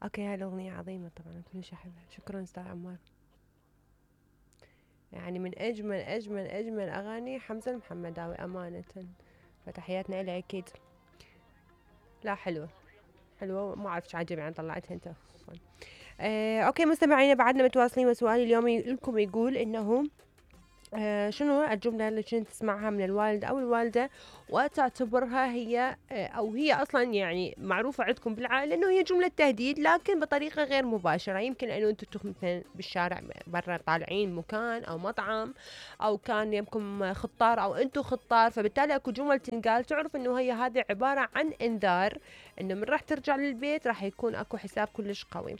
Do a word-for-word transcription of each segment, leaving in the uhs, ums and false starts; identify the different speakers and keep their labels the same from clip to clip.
Speaker 1: اوكي، هاي الاغنية عظيمة طبعا، كلش احبها. شكرا استاذ عمار. يعني من اجمل اجمل اجمل اغاني حمزة المحمداوي امانة، فتحياتنا له اكيد. لا حلوة حلوة، ما اعرف ايش عجبي عن طلعتها انت. آه، اوكي مستمعينا، بعدنا متواصلين، وسؤالي اليوم لكم يقول انه آه شنو الجملة اللي كنت تسمعها من الوالد أو الوالدة وتعتبرها هي آه أو هي أصلا يعني معروفة عندكم بالعائلة إنه هي جملة تهديد، لكن بطريقة غير مباشرة. يمكن إنه أنتم تكونوا مثلا بالشارع برا طالعين مكان أو مطعم، أو كان يمكم خطار أو أنتم خطار، فبالتالي أكو جمل تنقال تعرف إنه هي هذه عبارة عن إنذار إنه من راح ترجع للبيت راح يكون أكو حساب كلش قوي.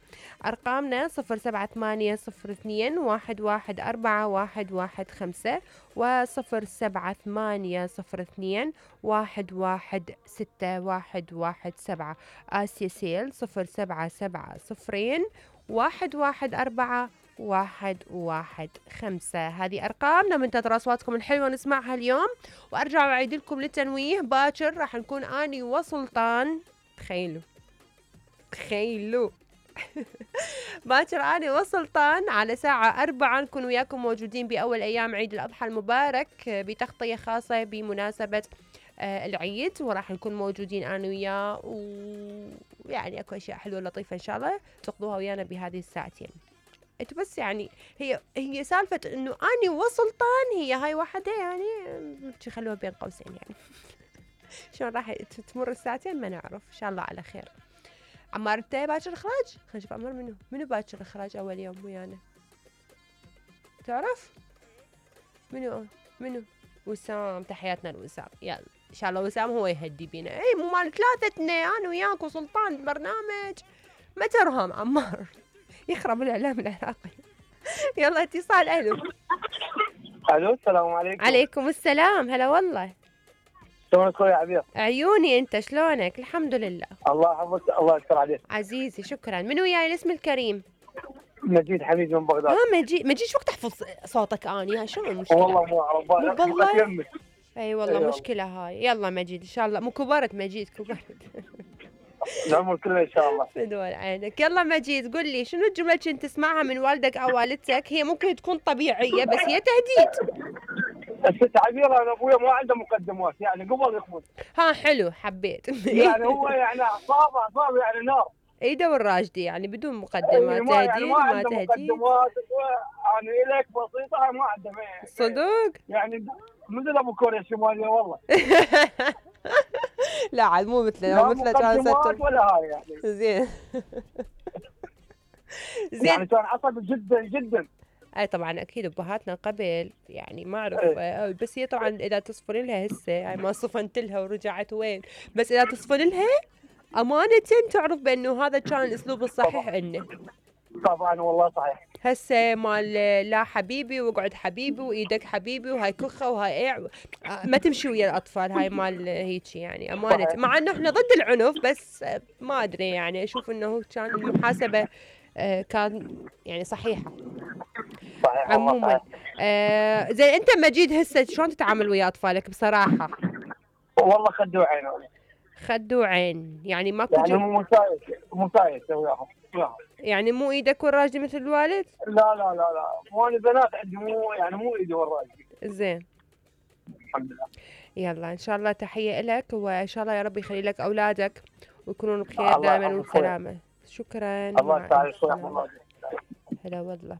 Speaker 1: أرقامنا صفر سبعة ثمانية صفر اثنين واحد واحد أربعة واحد واحد خمسة وصفر سبعة ثمانية صفر اثنين واحد واحد ستة واحد واحد سبعة. آسيا سيل صفر سبعة سبعة صفرين واحد واحد أربعة واحد واحد خمسة. هذه أرقامنا، منتظر أصواتكم الحلوة نسمعها اليوم. وأرجع وأعيد لكم للتنويه، باكر راح نكون أني وسلطان. تخيلوا تخيلوا باكر أنا وسلطان على ساعة أربعة نكون وياكم موجودين بأول أيام عيد الأضحى المبارك بتغطية خاصة بمناسبة آه العيد، وراح نكون موجودين أنا وياه، ويعني أكو أشياء حلوة لطيفة إن شاء الله تقضوها ويانا بهذه الساعتين. انتوا بس يعني هي هي سالفة إنه أنا وسلطان هي هاي واحدة يعني خلوها بين قوسين يعني. شلون راح تمر الساعتين ما نعرف، إن شاء الله على خير. عمار انت باكر اخراج؟ خلينا نشوف عمار منو منو باكر اخراج اول يوم ويانا، تعرف منو منو؟ وسام، تحياتنا لوسام. يلا ان شاء الله وسام هو يهدي بينا. اي مو مال ثلاثتنا انا وياك وسلطان برنامج ما ترهم عمار يخرب الاعلام العراقي. يلا اتصال. الو
Speaker 2: الو السلام عليكم.
Speaker 1: عليكم السلام، هلا والله.
Speaker 2: شلونك اخوي عبير؟
Speaker 1: عيوني انت شلونك؟ الحمد لله.
Speaker 2: الله يحفظك، الله يستر عليك.
Speaker 1: عزيزي شكرا. من وياي الاسم الكريم؟
Speaker 2: مجيد حميد من بغداد.
Speaker 1: ها مجيد مجيد شو وقت تحفظ صوتك اني؟ ها شنو المشكله؟
Speaker 2: والله مو اعرف
Speaker 1: والله اي والله أيوة. مشكله هاي. يلا مجيد ان شاء الله مو كبرت مجيد كبرت.
Speaker 2: العمر كله ان شاء الله.
Speaker 1: فدول عينك. يلا مجيد قل لي شنو الجمله كنت تسمعها من والدك او والدتك، هي ممكن تكون طبيعيه بس هي تهديد.
Speaker 2: الست عبير انا ابويا ما عنده مقدمات، يعني قبل يخمد.
Speaker 1: ها حلو حبيت.
Speaker 2: يعني هو يعني اعصابه اعصابه يعني نار.
Speaker 1: ايده والراجدي يعني بدون مقدمات. تهديد
Speaker 2: يعني ما
Speaker 1: ما
Speaker 2: عنده
Speaker 1: تهديد.
Speaker 2: مقدمات انا الك بسيطه ما عنده.
Speaker 1: صدق؟
Speaker 2: يعني مثل ابو كوريا الشماليه والله.
Speaker 1: لا عاد مو مثله، مو مثله كان
Speaker 2: ستر ولا هاي يعني.
Speaker 1: زين.
Speaker 2: زين يعني كان عصبي جدا جدا.
Speaker 1: اي طبعا اكيد ابهاتنا قبل يعني ما اعرف ايه. بس هي طبعا اذا تصفن لها هسه يعني ما صفنت لها ورجعت وين، بس اذا تصفن لها امانه تعرف بانه هذا كان الاسلوب الصحيح عنه.
Speaker 2: طبعا والله صحيح.
Speaker 1: هسه مال لا حبيبي واقعد حبيبي وايدك حبيبي وهاي كخه وهاي ايه ما تمشي ويا الاطفال. هاي مال هيك يعني امانه، مع انه احنا ضد العنف بس ما ادري يعني اشوف انه كان المحاسبه كان يعني صحيحه.
Speaker 2: صحيح
Speaker 1: عموما آه زين انت مجيد هسه شلون تتعامل ويا اطفالك بصراحه؟
Speaker 2: والله خدوا عين.
Speaker 1: خدوا عين يعني ماكو
Speaker 2: يعني مو مسايس مسايس وياهم
Speaker 1: يعني مو ايدك والراجدي مثل الوالد؟
Speaker 2: لا لا لا لا مو انا بنات عندي مو يعني مو ايدي والراجدي.
Speaker 1: زين
Speaker 2: الحمد لله.
Speaker 1: يلا ان شاء الله تحيه لك، وان شاء الله يا رب يخلي لك اولادك ويكونون بخير دائما وسلامه. شكرا.
Speaker 2: الله يسعدك.
Speaker 1: هلا والله.